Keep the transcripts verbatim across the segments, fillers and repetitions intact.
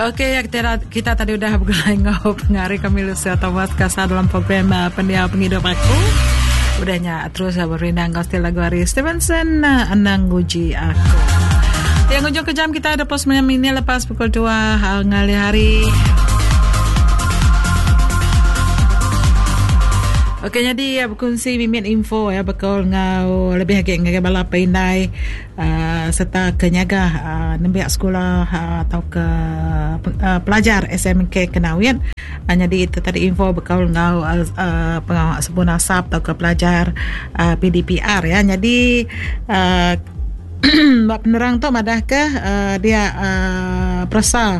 Okey, ya, kita, kita tadi udah bergulai ngau pengari kami Lucia Thomas Kasar dalam program uh, Pendiau Pengidup Aku. Udahnya terus uh, berindang ngau stil lagu hari Stevenson uh, Anang Nguji Aku. Yang ujung ke jam kita ada pos sembilan minit lepas pukul dua uh, ngalih hari. Okey, jadi ya, berkongsi mimin info ya bakal ngau lebih lagi ngagai bala pindai uh, serta kenyaga uh, nembiak sekolah uh, atau ke uh, pelajar S M K Kanowit. Uh, jadi itu tadi info bakal ngau uh, uh, pengawak sebun asap atau ke pelajar uh, P D P R ya. Jadi uh, bab penerang tu madah ke uh, dia uh, perasa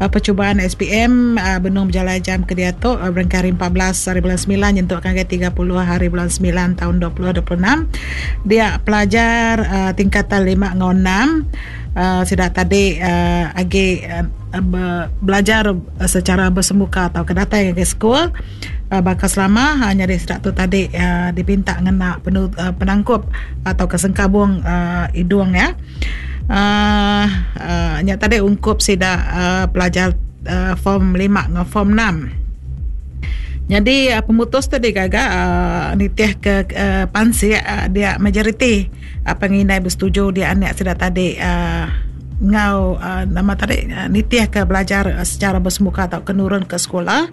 Uh, percubaan S P M uh, benung berjalan jam ke dia tu uh, berangkat hari empat belas hari bulan sembilan nyentuk ke tiga puluh hari bulan sembilan tahun dua ribu dua puluh enam. Dia pelajar uh, tingkatan lima ngau enam uh, sudah tadi uh, agi uh, be- belajar uh, secara bersemuka atau kedatai ke sekolah uh, bakal selama hanya di sedak tu tadi uh, dipinta ngena penu, uh, penangkup atau kesengkabung uh, hidung ya. Uh, uh, nya tadi ungkup sida uh, pelajar uh, form lima dengan form enam. Jadi uh, pemutus tu digaga uh, nitih ke uh, pansi uh, dia majoriti uh, pengindai bersetuju dia anak sida tadi uh, ngau uh, nama tadi uh, nitih ke belajar uh, secara bersemuka atau kenurun ke sekolah.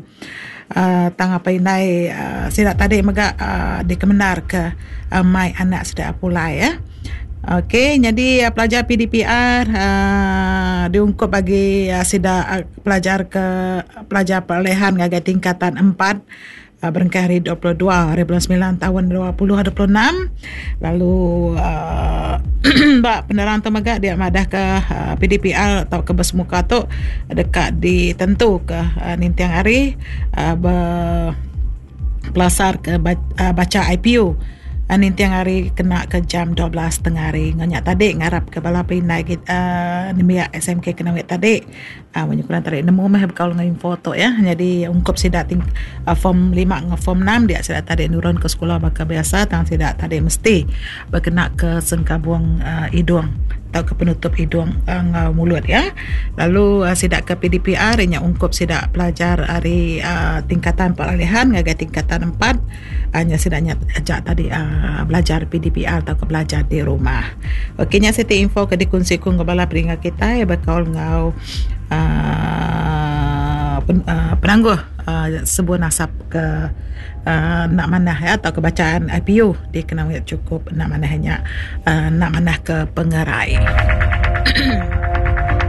Uh, tang apa indai uh, sida tadi mega uh, dikemenar ke uh, mai anak sida pulai ya. Okey, jadi uh, pelajar P D P R uh, diungkup bagi uh, sida uh, pelajar ke pelajar peralihan ngagai tingkatan empat uh, berengkah hari dua puluh dua hari bulan sembilan tahun dua ribu dua puluh enam. Lalu uh, bak penerang tu mega dia madah ke uh, P D P R atau ke bersemuka tu dekat ditentu ke uh, nintiang hari uh, ber, pelasar ke uh, baca I P U. Nintiang hari kena ke jam dua belas tengah hari. Nganyak tadi ngarap ke bala pindai kita uh, nembiak S M K Kanowit tadi. Uh, menyukuran tadi nemu meh bekal dengan info tu ya. Jadi ungkup sidak ting, uh, form lima dengan form enam dia sidak tadi nurun ke sekolah bakal biasa tang sidak tadi mesti berkena ke sengkabung uh, hidung atau ke penutup hidung uh, mulut ya. Lalu uh, sidak ke P D P R nya ungkup sidak pelajar hari uh, tingkatan peralihan ngagai tingkatan empat hanya uh, sidaknya ajak tadi uh, belajar P D P R atau ke belajar di rumah. Okey nya siti info ke dikunci ku bala peringat kita ya bakal ngau uh, pen, uh, penangguh uh, sebuah nasab ke uh, nak manah ya atau kebacaan I P U di kena cukup nak manahnya uh, nak manah ke pengerai.